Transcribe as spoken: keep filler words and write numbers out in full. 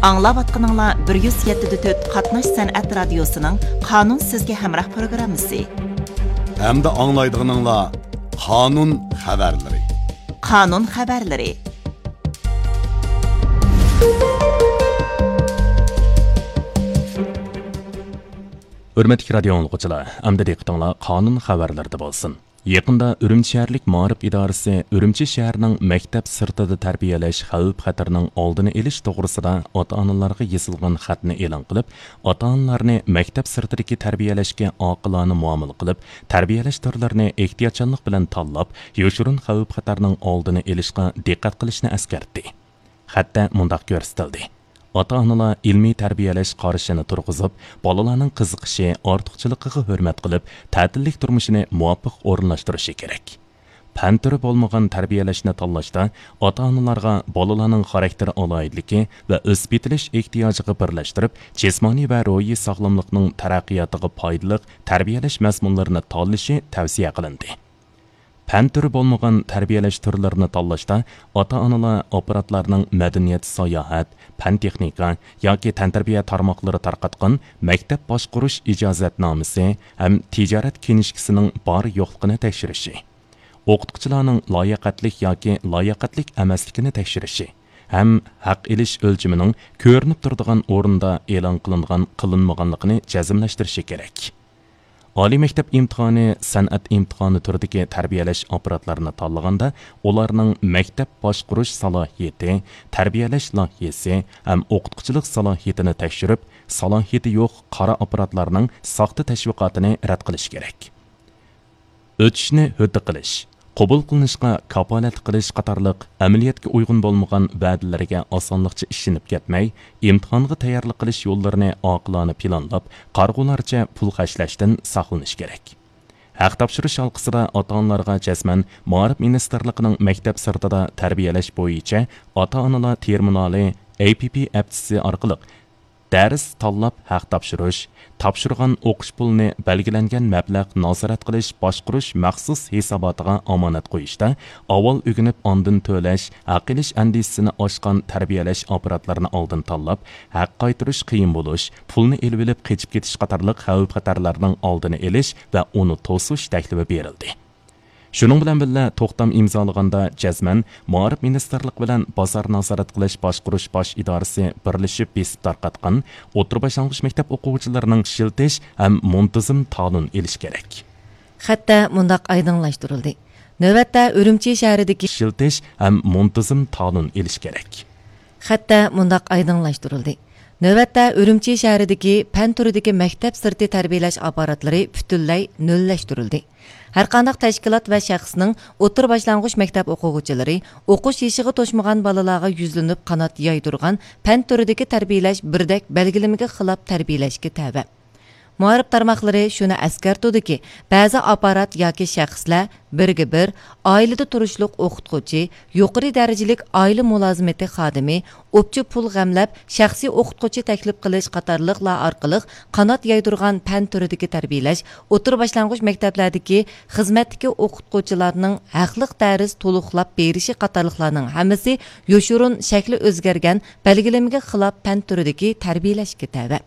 ئاڭلاۋاتقىنىڭلار بىر يۈز يەتتە دە تۆت قاتناش سەنئەت رادىيوسىنىڭ قانۇن سىزگە ھەمراھ پروگراممىسى. ھەمدە ئاڭلايدىغىنىڭلار قانۇن خەۋەرلىرى. قانۇن خەۋەرلىرى. ھۆرمەتلىك رادىيو ئاڭلىغۇچىلار، ئەمدى دىققىتىڭلار قانۇن خەۋەرلىرىدە بولسۇن. يېقىندا ئۈرۈمچى شەھەرلىك مائارىپ ئىدارىسى ئۈرۈمچى شەھىرىنىڭ مەكتەپ سىرتىدا تەربىيەلەش خەۋپ-خەتىرىنىڭ ئالدىنى ئېلىش توغرىسىدا ئاتا-ئانىلارغا يېزىلغان خەتنى ئېلان قىلىپ، ئاتا-ئانىلارنى مەكتەپ سىرتىدىكى تەربىيەلەشكە ئاقىلانە مۇئامىلە قىلىپ، تەربىيەلەش تۈرلىرىنى ئېھتىياتچانلىق بىلەن تاللاپ، يوشۇرۇن خەۋپ-خەتەرنىڭ ئالدىنى ئېلىشقا دىققەت قىلىشنى ئەسكەرتتى. خەتتە مۇنداق كۆرسىتىلدى: ئاتا-ئانىلار ئىلمىي تەربىيەلەش قارىشىنى تۇرغۇزۇپ، بالىلارنىڭ قىزىقىشى، ئارتۇقچىلىقىغا ھۆرمەت قىلىپ، تەتىللىك تۇرمۇشىنى مۇۋاپىق ئورۇنلاشتۇرۇشى كېرەك. پەن تۈرى بولمىغان تەربىيەلەشنى تاللاشتا ئاتا-ئانىلارغا بالىلارنىڭ خاراكتېر ئالاھىدىلىكى ۋە ئۆسۈپ يېتىلىش ئېھتىياجىغا بىرلەشتۈرۈپ، جىسمانىي ۋە روھىي ساغلاملىقنىڭ تەرەققىياتىغا پايدىلىق تەربىيەلەش مەزمۇنلىرىنى تاللىشى تەۋسىيە قىلىندى. پەن تۈرى بولمىغان تەربىيەلەش تۈرلىرىنى تاللاشتا ئاتا-ئانىلار ئاپپاراتلارنىڭ مەدەنىيەت، ساياھەت، پەن-تېخنىكا ياكى تەنتەربىيە تارماقلىرى تارقاتقان مەكتەپ باشقۇرۇش ئىجازەتنامىسى ھەم تىجارەت كىنىشكىسىنىڭ بار-يوقلۇقىنى تەكشۈرۈشى، ئوقۇتقۇچىلارنىڭ لاياقەتلىك ياكى لاياقەتلىك ئەمەسلىكىنى تەكشۈرۈشى ھەم ھەق ئېلىش ئۆلچىمىنىڭ كۆرۈنۈپ تۇرىدىغان ئورۇندا ئېلان قىلىنغان، قىلىنمىغانلىقىنى جەزملەشتۈرۈشى كېرەك. ئالىي مەكتەپ ئىمتىھانى، سەنئەت ئىمتىھانى تۈرىدىكى تەربىيەلەش ئاپپاراتلىرىنى تاللىغاندا، ئۇلارنىڭ مەكتەپ باشقۇرۇش سالاھىيىتى، تەربىيەلەش لايىھەسى ھەم ئوقۇتقۇچىلىق سالاھىيىتىنى تەكشۈرۈپ، سالاھىيىتى يوق قارا ئاپپاراتلارنىڭ ساختا تەشۋىقاتىنى رەت قىلىش كېرەك. ئۆتۈشنى ھۆددە قىلىش، قوبۇل قىلىنىشقا كاپالەتلىك قىلىش قاتارلىق ئەمەلىيەتكە ئۇيغۇن بولمىغان ۋەدىلەرگە ئاسانلىقچە ئىشىنىپ كەتمەي، ئىمتىھانغا تەييارلىق قىلىش يوللىرىنى ئاقىلانە پىلانلاپ، قارىغۇلارچە پۇل خەجلەشتىن ساقلىنىش كېرەك. ھەق تاپشۇرۇش ھالقىسىدا ئاتا-ئانىلارغا جەزمەن مائارىپ مىنىستىرلىقىنىڭ مەكتەپ سىرتىدا تەربىيەلەش بويىچە ئاتا-ئانىلار تېرمىنالى، ئەي پى پى ئەپچىسى ئارقىلىق دەرس تاللاپ ھەق تاپشۇرۇش، تاپشۇرغان ئوقۇش پۇلىنى بەلگىلەنگەن مەبلەغ نازارەت قىلىش باشقۇرۇش مەخسۇس ھېساباتىغا ئامانەت قويۇشتا ئاۋۋال ئۆگىنىپ ئاندىن تۆلەش، ھەق ئېلىش ئەندىزىسىنى ئاشقان تەربىيەلەش ئاپپاراتلىرىنى ئالدىن تاللاپ، ھەق قايتۇرۇش قىيىن بولۇش، پۇلنى ئېلىۋېلىپ قېچىپ كېتىش قاتارلىق خەۋپ-خەتەرلەرنىڭ ئالدىنى ئېلىش ۋە ئۇنى توسۇش تەكلىپى بېرىلدى. شۇنىڭ بىلەن بىللە، توختام ئىمزالىغاندا جەزمەن مائارىپ مىنىستىرلىقى بىلەن بازار نازارەت قىلىش باشقۇرۇش باش ئىدارىسى بىرلىشىپ بېسىپ تارقاتقان ئوتتۇرا باشلانغۇچ مەكتەپ ئوقۇغۇچىلىرىنىڭ ئىشلىتىش ھەم مۇنتىزىم تالون ئېلىش كېرەك. خەتتە مۇنداق ئايدىڭلاشتۇرۇلدى. نۆۋەتتە ئۈرۈمچى شەھىرىدىكى ئىشلىتىش ھەم مۇنتىزىم تالون ئېلىش كېرەك. خەتتە مۇنداق ئايدىڭلاشتۇرۇلدى. نۆۋەتتە ئۈرۈمچى شەھىرىدىكى پەن تۈرىدىكى مەكتەپ سىرتى تەربىيەلەش ئاپپاراتلىرى پۈتۈنلەي نۆللەشتۈرۈلدى. ھەرقانداق تەشكىلات ۋە شەخسنىڭ ئوتتۇرا باشلانغۇچ مەكتەپ ئوقۇغۇچىلىرى ئوقۇش يېشىغا توشمىغان بالىلارغا يۈزلىنىپ قانات يايدۇرغان پەن تۈرىدىكى تەربىيەلەش بىردەك بەلگىلىمىگە خىلاپ تەربىيەلەشكە تەۋە. مائارىپ تارماقلىرى شۇنى ئەسكەرتىدۇكى، بەزى ئاپپارات ياكى شەخسلەر بىرگە بىر، ئائىلىدە تۇرۇشلۇق ئوقۇتقۇچى، يۇقىرى دەرىجىلىك ئائىلە مۇلازىمىتى خادىمى، ئوپچە پۇل غەملەپ، شەخسىي ئوقۇتقۇچى تەكلىپ قىلىش قاتارلىقلار ئارقىلىق قانات يايدۇرغان پەن تۈرىدىكى تەربىيەلەش، ئوتتۇرا باشلانغۇچ مەكتەپلەردىكى خىزمەتتىكى ئوقۇتقۇچىلارنىڭ ھەقلىق دەرس تولۇقلاپ بېرىشى قاتارلىقلارنىڭ ھەممىسى يوشۇرۇن شەكلى ئۆزگەرگەن بەلگىلىمىگە خىلاپ پەن تۈرىدىكى تەربىيەلەشكە تەۋە.